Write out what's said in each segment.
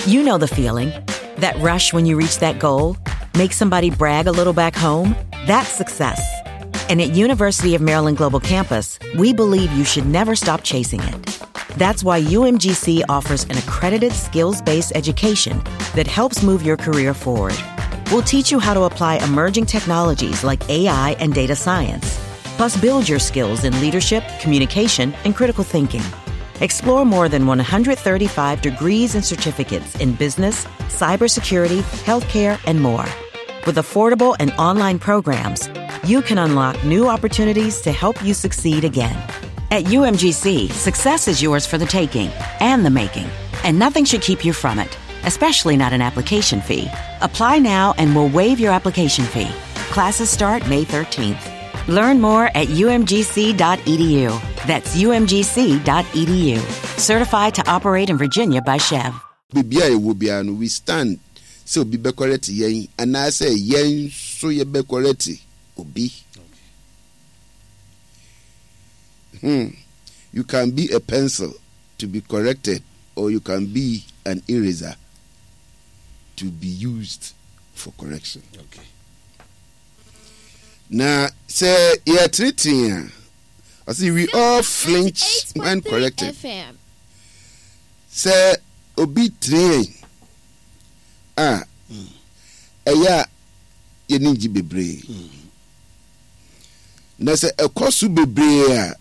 You know the feeling. That rush when you reach that goal, make somebody brag a little back home, that's success. And at University of Maryland Global Campus, we believe you should never stop chasing it. That's why UMGC offers an accredited skills-based education that helps move your career forward. We'll teach you how to apply emerging technologies like AI and data science, plus build your skills in leadership, communication, and critical thinking. Explore more than 135 degrees and certificates in business, cybersecurity, healthcare, and more. With affordable and online programs, you can unlock new opportunities to help you succeed again. At UMGC, success is yours for the taking and the making, and nothing should keep you from it, especially not an application fee. Apply now and we'll waive your application fee. Classes start May 13th. Learn more at umgc.edu. That's umgc.edu. Certified to operate in Virginia by Chev. Baabi a yɛwɔ biara no, we stand sɛ obi bɛkɔrɛte yɛn anaasɛ yɛn nso yɛbɛkɔrɛte obi. Hmm. You can be a pencil to be corrected or you can be an eraser to be used for correction. Okay. Na sɛ yɛtenetene a, ɔse we all flinch when corrected. Sɛ obi tene yɛn a, ɛyɛ a yɛni ngye bebree. Na sɛ ɛkɔ so bebree a,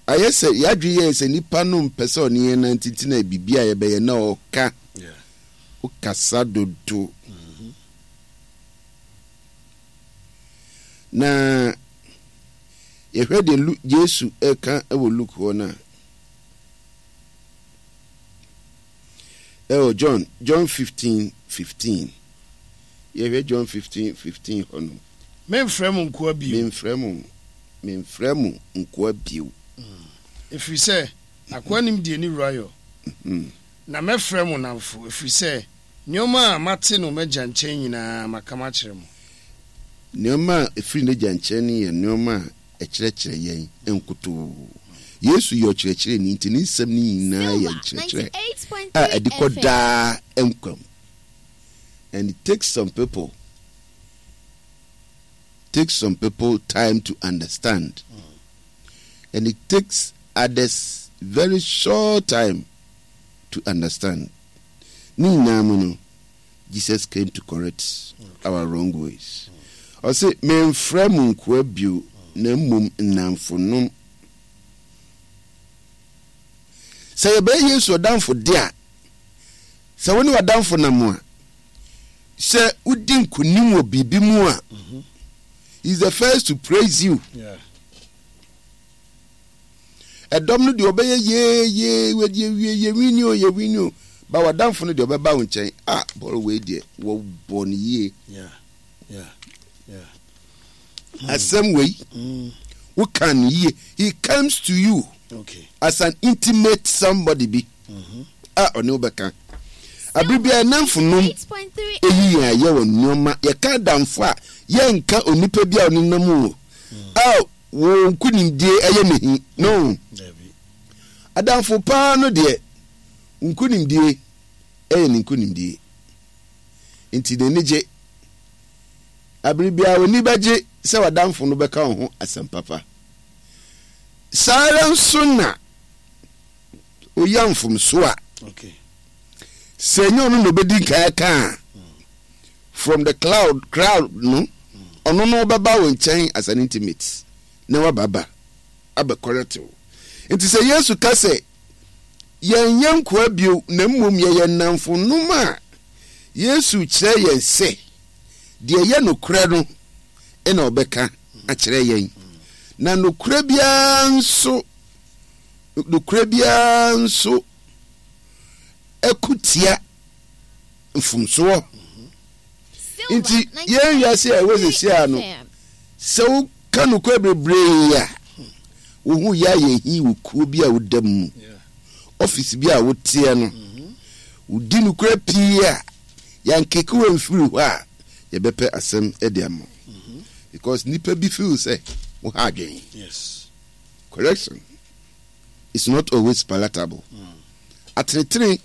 ayɛ sɛ yɛadwene yɛn sɛ nipa no mpɛ sɛ ɔne yɛn nante nti na biribi a yɛbɛyɛ na ɔka. Wokasa dodo. Na yɛhwɛ deɛ Lu Yesu ɛka wɔ Luke hɔ no a, ɛwɔ John, John 15, 15. Yɛhwɛ John 15, 15 hɔ no. Memfrɛ mo nkoa bio. Memfrɛ mo, memfrɛ mo nkoa bio. Ɛfiri sɛ akoa nnim deɛ ne wura yɔ. Na mɛfrɛ mo nnamfo, ɛfiri sɛ Nneɛma a mate no m'Agya nkyɛn nyinaa, maka makyerɛ mo. Nneɛma a ɛfiri n'Agya nkyɛn no yɛ nneɛma a ɛkyerɛkyerɛ yɛn nkutoo. Yesu yɛ ɔkyerɛkyerɛni, nti ne nsɛm no nyinaa yɛ nkyerɛkyerɛ a ɛde kɔ daa nkwa mu. And it takes some people takes some people time to understand. And it takes others very short time to understand. Ne nyinaa mu no, Jesus came to correct our wrong ways. Ɔse, Memfrɛ mo nkoa bio, na mmom nnamfonom. Sɛ yɛbɛyɛ Yesu ɔdamfo de a, sɛ wo ne w'adamfo nam a, sɛ wodi nkonim wɔ biribi mu a, he is the first to praise you. Yeah. Ɛdɔm no deɛ ɔbɛyɛ yee yee wadi awie yɛ wini o yɛ wini o ba w'adamfo no deɛ ɔbɛba wo nkyɛn ah bɔɔl wei deɛ wɔbɔ no yie. Asɛm wei woka no yie he comes to you okay. as an intimate somebody bi mm-hmm. a ɔne wo bɛka abere biara nnamfo nom eyi yɛn ayɛ wɔ nneɛma yɛka adamfo a yɛnka onipa bi a ɔne nam o a Wo nkunimdie yɛ me hi. No. Adamfo paa no deɛ, wo nkunimdie yɛ ne nkunimdie. Nti n'ani gye. Abere biara w'ani bɛgye sɛ w'adamfo no bɛka wo ho asɛm papa. Saa ara nso na oya mfomso a, sɛ ɛnyɛ ɔno na obedi nkan aka a, From the cloud crowd no ɔno no ɔbɛba wo nkyɛn as an intimate na waba ba abɛ correct wo. Nti sɛ Yesu ka sɛ yɛnyɛ nkoa bio na mmom yɛyɛ nnamfonom a, Yesu kyerɛ yɛn sɛ deɛ ɛyɛ nokorɛ no na ɔbɛka akyerɛ yɛn. Na nokorɛ biara nso nokorɛ biara nso ɛko tia mfomsoɔ. Nti yɛn wiase a ɛwɔ sɛsi a no, sɛ woka nokorɛ bebree a, wo ho yɛ ayɛ hi wɔ kuo bi a woda mu, ɔfisi bi a woteɛ no, wodi nokorɛ pii a, yɛankeke wo amfiri hɔ a, yɛbɛpɛ asɛm de ama wo. Because nipa bi feel sɛ wo ha adwene. Correction is not always palatable. Atenetene.